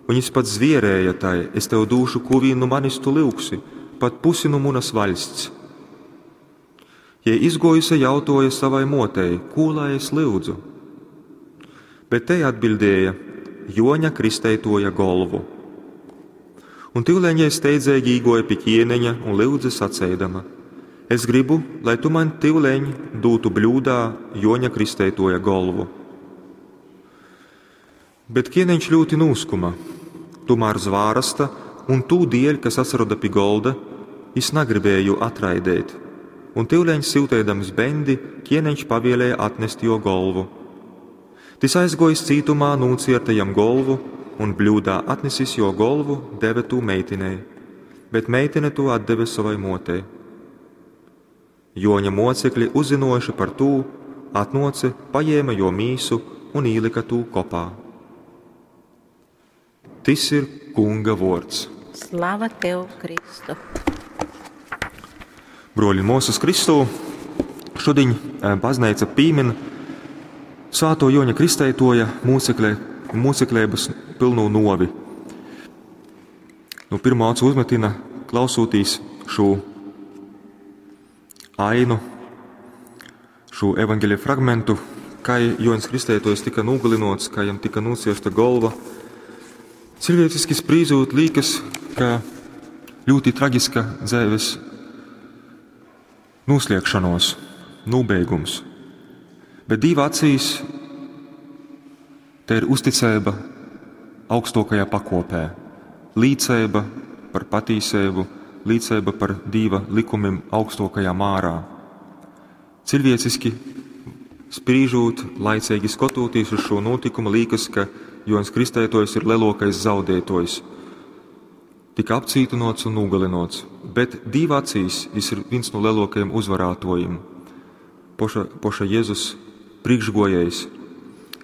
Un jis pat zvierēja tai: Es tev dūšu, kū vīn nu manis tu lyugsi, pat pusi nu munas vaļsts. Jei izguojuse jautuoja savai muotei: Kū lai es lyudzu? Bet tei atbiļdēja: Juoņa Kristeituoja golvu. Un tyuleņ jei steidzeigi īguoja pi ķieniņa un lyudze saceidama: Es gribu, lai tu maņ tyuleņ dūtu bļūdā Juoņa Kristeituoja golvu. Bet ķieniņš ļūti nūskuma. Tūmār zvārasta un tū dieļ, kas atsaroda pi golda, jis nagribēja jū atraideit. Un tyuleņ syuteidams beņdi, ķieniņš pavielēja atnest juo golvu. Tys aizguojis cītumā, nūcierta jam golvu un bļūdā atnesis juo golvu, deve tū meitinei, bet meitine tū atdeve sovai muotei. Juoņa muocekļi, uzzynuojuši par tū, atnuoce, pajēma juo mīsu un īlyka tū kopā. Tys ir Kunga vuords. Slava tev, Kristu! Bruoļi un muosys Kristū, šudiņ bazneica pīmin Svātuo Juoņa Kristeituoja mūcekleibys pylnū nuovi. Nu pirmo acu uzmetina, klausūtīs šū ainu, šū evaņgeļa fragmentu, kai Juoņs Kristeituojs tika nūgalynuots, kai jam tika nūciersta golva. Ciļvieciski sprīžūt, līkas, ka ļūti tragiska dzeives nūsliegšonuos, nūbeigums. Bet Dīva acīs te ir uzticeiba augstuokajā pakuopē, līceiba par patīseibu, līceiba par Dīva likumim augstuokajā mārā. Ciļvieciski sprīžūt, laiceigi skotūtīs uz šū nūtikumu, līkas, ka Juoņs Kristeituojs ir leluokais zaudietuojs. Tika apcītynuots un nūgalynuots, bet Dīva acīs jis ir vīns nu leluokajiem uzvarātuojim. Poša Jezus prīškguojējs,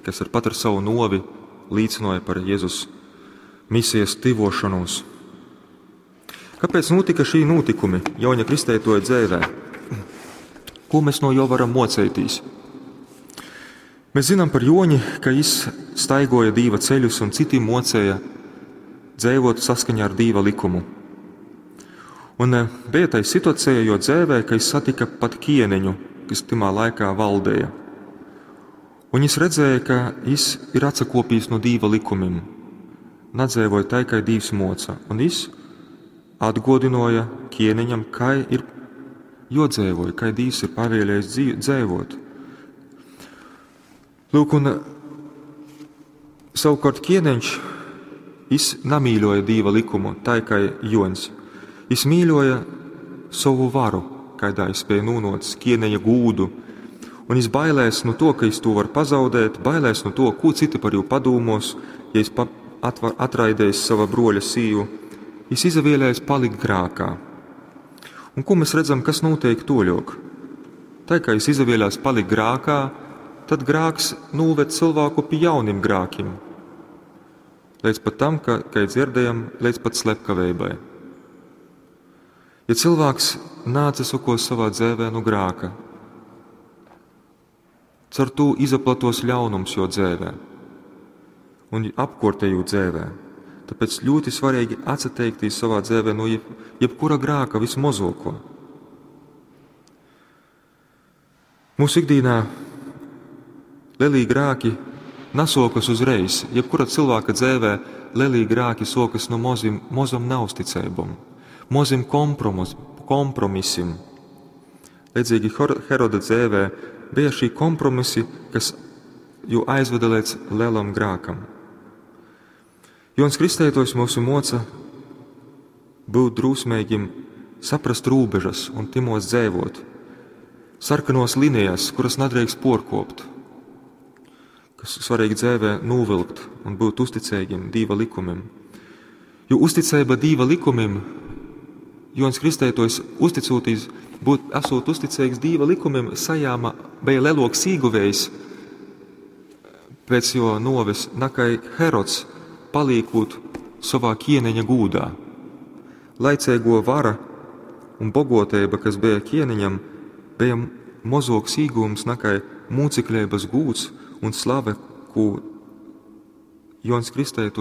kas ar pat ar savu nuovi līcynoja par Jezus misijas tyvuošonūs. Kāpēc nūtika šī nūtikumi Juoņa Kristeituoja dzeivē? Ko mēs no jo varam muoceitīs? Mēs zinām par Juoņi, ka jis staigoja Dīva ceļus un citim muocēja dzeivot saskaņā ar Dīva likumu. Un beja tai situacija jo dzēvē, ka jis satika pat ķieniņu, kas tymā laikā valdēja. Un jis redzēja, ka jis ir atsakopījis no Dīva likumim, nadzeivoja tai, kai Dīvs moca. Un jis atgodinoja ķieniņam, kai ir jodzīvoja, kai Dīvs ir pavēlējis dzīvot. Lūk, un savukārt ķieniņš, jis namīļoja Dīva likumu, tai kā Joņs. Jis mīļoja savu varu, kaidā jis spēja nūnots ķieniņa gūdu, un jis bailēs no to, ka jis to var pazaudēt, bailēs no to, ko citi par jū padūmos, ja jis atraidējis sava broļa sīvu. Jis izavēlējis palikt grākā. Un ko mēs redzam, kas notiek toļok? Tai, kā jis izavēlējās palikt grākā, tad grāks nūved cilvēku pie jaunim grākim. Līdz pat tam, ka, kai dzirdējam, līdz pat slepkaveibai. Ja cilvēks nāca sokos savā dzēvē no grāka, caur to izaplatos ļaunums jo dzēvē un apkortēju dzēvē. Tāpēc ļoti svarīgi atsateikties savā dzēvē no jebkura grāka vismozoko. Mūsu ikdienā lielī grāki nasokas uzreiz. Jebkura cilvēka dzēvē lielī grāki sokas no mozam neusticībam, mozim kompromisim. Līdzīgi Heroda dzēvē bija šī kompromisi, kas jū aizveda līdz lielam grākam. Jons Kristētojs mūsu moca būt drūsmīgim, saprast rūbežas un timos dzēvot, sarkanos linijas, kuras nedrīkst porkopt, kas svarīgi dzēvē nūvilkt un būt uzticīgiem Dīva likumim. Jo uzticība Dīva likumim, Jons Kristētojs uzticūtīs, būt, esot uzticīgs Dīva likumim, sajāma bija leloks īguvējs pēc jo noves, nakai Herods palīkūt savā ķieniņa gūdā. Laicēgo vara un bogotēba, kas bija ķieniņam, bija mozoks īgūms nakai mūcekļības gūds un slave, ko Jons Kristētojs